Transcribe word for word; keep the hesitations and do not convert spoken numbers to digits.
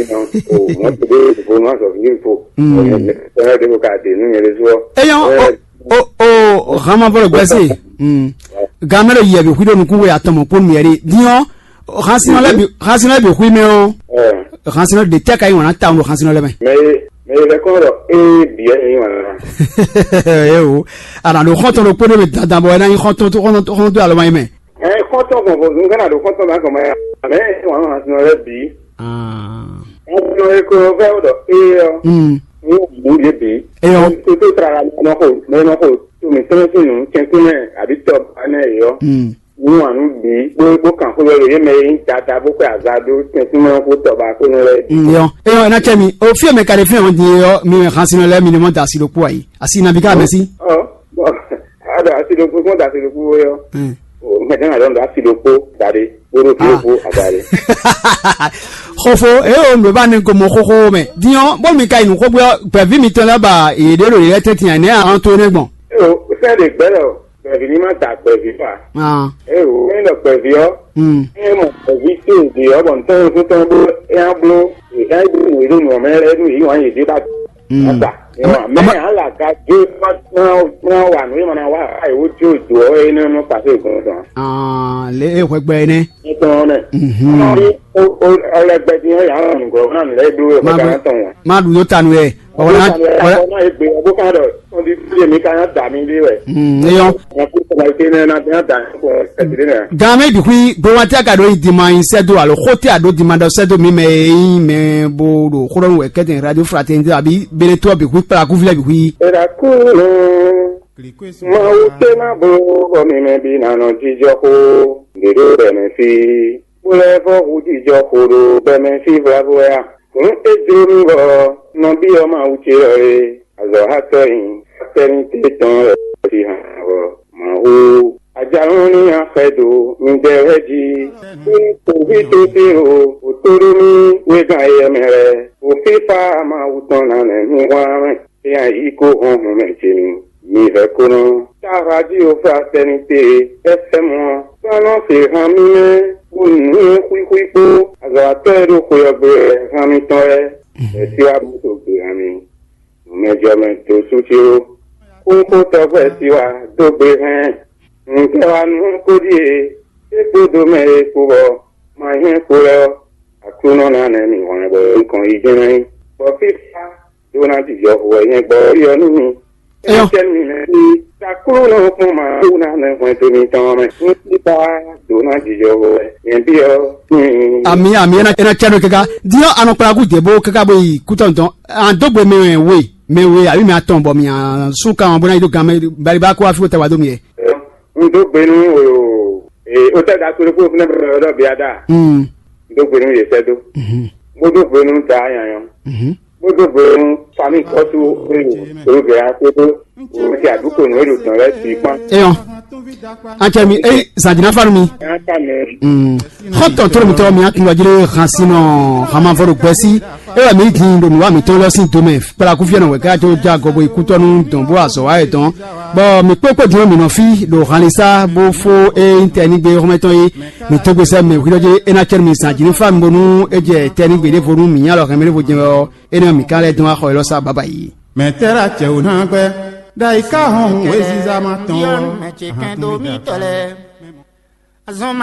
Sinon, o mɔ̌ to ɖé vo nú azɔ̌ví fo. Ɛnɛ ɖé ko ka ɖe nú nyɛ ɖésú ɔ́. Eyɔn, o o o hama vɔ le gbɛsi. Gamɛ le yɛ bi hui ɖo nukun we atɔmɔ kpɔn mi yɛ ɖi diɔ. Hansinɔ lɛ bi hansinɔ lɛ bi hui mɛ ɔ. Hansinɔ de tɛ ka yi wana ta ŋu hansinɔ lɛ mɛ. Mɛ ye mɛ ye lɛ kɔn ɖɔ ee biɛ ni wana. Ewo, ana ɖo xɔntɔn ɖo kpɔn mi dandan bɔ ɛna yi xɔntɔn to xɔntɔn to alɔ ma yi mɛ. Ɛ xɔntɔn gbɔn bɔ nugana ɖo xɔntɔn ma gɔmɛ ya. Mɛ ye wana hansinɔ lɛ bi. Ɔn e ko vɛ o ɖɔ ee ɔ. Ní wọ́n mú yé bǐ. Eyɔ. Tó tó tra la nɔ xo mɛ nɔ xo tó mi tɔn sí nù kɛntún mɛ àbí tɔ ba nɛ yɔ. Ní wọ́n nù bǐ bó bó kàn xó lɔ yé mɛ yín dada bó kpɛ àza dó kɛntún mɛ kó tɔ ba kó nɔ lɛ. Yɔ. Eyɔ ena cɛ mi o fi mɛ ka ɖe fi hàn di yɔ mi mɛ hàn sinɔ lɛ mi ni mɔ da asi ɖokpó ayi asi nabi ká mɛ sí. Ɔ bɔn a ɖo asi ɖokpó kó da asi ɖokpó yɔ. Mɛ tɛn a ɖɔ asi ɖokpó da ɖe kó ɖo fi ɖokpó ada ɖe. Xɔfo eye o nǔ e ba ne gomɔ xóxó mɛ din ɔ́ bó mi ka yi nǔ xó gbé ɔ́ gbɛ̌ví mitɔn lɛ́ɛ ba yě ɖé ɖo yě lɛ́ɛ tɛ́ntin ǎ nɛ́ a nɔ to énɛ́ gbɔn. Eo sɛ́ ɖe gbɛ́ lɔ gbɛ̀bí ní má da gbɛ̀bí fa. Eo é ɖɔ gbɛ̀bí ɔ́ é mɔ gbɛ̀bí tó ìdí ɔ́ bɔ ntɔ́n fún tɔn bó é á bló é á bló nǔ é ɖo nǔ ɔ́ mɛ é ɖo yǐ wǎn yě dé ba. Ata mɛ ala ka dé má wà nú é ma ná wá àyè wó dó dó ɔ́ é nɛ́ nɔ pàṣẹ ìgbọ̀n tán. Lé é hwɛgbɛ é nɛ́. Nítorí ọlẹgbẹdì yẹn yà ń rìn gòrò náà nílẹ̀ ìlú rẹ̀ kọ́kọ́ tán wọn. Má dùn yóò tanu yẹ. Ọ̀wọ́n náà ọ̀wọ́n náà yẹ gbé ọgbó kan dọ̀ ọdún tí èmi kan yà dà mí lé rẹ̀. Eyọ. Wọn kú sọ̀rọ̀ ìpè náà náà bí wọ́n dà ní kò ẹ̀sìn náà. Gan mɛ bi hui gbowatɛ ka ɖo yi dima yi sɛdo alo xote a ɖo dima ɖɔ sɛdo mi mɛ yi mɛ bo ɖo xɔlɔnu wɛ kɛtɛ radio fraternité abi bene to bi hui kpla kuvlɛ bi hui. Ìràkúrò Mawu tɛ má bló bɔ mi mɛ bi nanɔ jijɔ xó ɖèɖó bɛ mɛ fi. Kpó lɛ́ɛ vɔ́ hú jijɔ xo ɖo bɛmɛ sín vlavo wɛ a? Hǔn é jló mì bɔ nɔbí ɔ́ ma wú ce ɔ́ é, azɔ̌hatɔ́ nyi, atɛ́núté tɔn wɛ ɔ́ cí han ɔ́. Mawu, ajalɔ́n ní nyi axɛ do midɛɛ lɛ́ɛ jí. Kpódó kpǒví tó se o, wǒ tó ɖó mì wégán éyɛ́ mɛ lɛ́ɛ. Wǒ fífá Mawu tɔn ná nɛ̌ mì hwlán mɛ. Éyɛ́ yí kó hɔn hɔn mɛ ce mi. Mi vɛ́ kó nɔ. Táha jí o fraternité, F M ɔ́, kpán nɔ se han mì mɛ, bó nǔ xwíxwí kpó azɔ̌watɔ́ e ɖo xwe ɔ́ gbe wɛ han mitɔn lɛ́ɛ, bɛ̌ sí wá bó to gbe han mi. Nǔmɛjɔmɛ dó sú ce ó. Kónkó tɔgbɛ́ sí wá dó gbe hɛn. Nǔtɛ́ wá nú kó ɖíe, é kpódó mɛ e kpo bɔ ma nyɛ́ kpo lɛ́ɛ ɔ́, Aklúnɔ ná nɛ́ mì hwlɛ́n bɔ nukɔn yi jɛ́n ná nyí. Bɔ fífá ɖó ná jijɔ hu wɛ nyɛ gbɔ ɔ́ nú mi. Eyɔ. Énɛ́ mi mɛ ní takúlú nɔ kpɔ́n ma wú ná nɛ hwɛndo mitɔn mɛ. Ní títá ɖó ná jijɔ hu wɛ nyɛ byɔ́ nú mi. Ami ami ena ena cɛ ɖo keka diɔ anɔkplagu dě bó keka bó yi kútɔ́ ntɔn an dó gbe mɛ we mɛ we abi mɛ atɔn bɔ mi an sú kan bó ná yi dó gan mɛ baliba kó afi wo tɛ wa dó mi yɛ. N dó gbe nú o o tɛ da kúlú kó fúnɛ bɛ ɖɔ bia da. N dó gbe nú yě sɛ́ dó. Bó dó gbe nú da nyanyɔ. Bó dó gbe nú fami kɔ́sú olùgbé akpódó olùsí àdúgbò nú èlò tán lɛ́ɛ sí kpán. Eyɔn, atsɛ mi eyi zadina fanu mi. Xɔtɔn tó mi tɔ mi akin lɔjire han sinɔ hamavɔ ɖo gbɛsi. Ewɔ mi din ɖo nǔwa mitɔn lɔ sín domɛ kpla kúfíɛ nɔ wɛ ká tó já gɔbo ikútɔnu dɔn bó azɔ wa yɛ dɔn. Bɔ mi kpékpé din mi nɔ fí ɖo hanlisa bó fó e tɛnigbe xɔmɛtɔn yi. Mi tógbe sɛ mɛ hwilɔ dzi ena cɛ mi zan dzi ní fa mi bónú é jɛ tɛnigbe ɖěvo nú mi nyá lɔ hɛn mi ɖěvo jɛ ɔ. Énɛ́ ɔ́, mǐ ka lɛ́ dɔn wá xɔ élɔ́ sá babayi. Mɛ̌ tɛ́ ɖo acɛ wǔ ná gbɛ́? Ɖ'ayǐ ká hɔn hǔn wěziza ma tɔn ɔ́. Ahan tɔn mi da.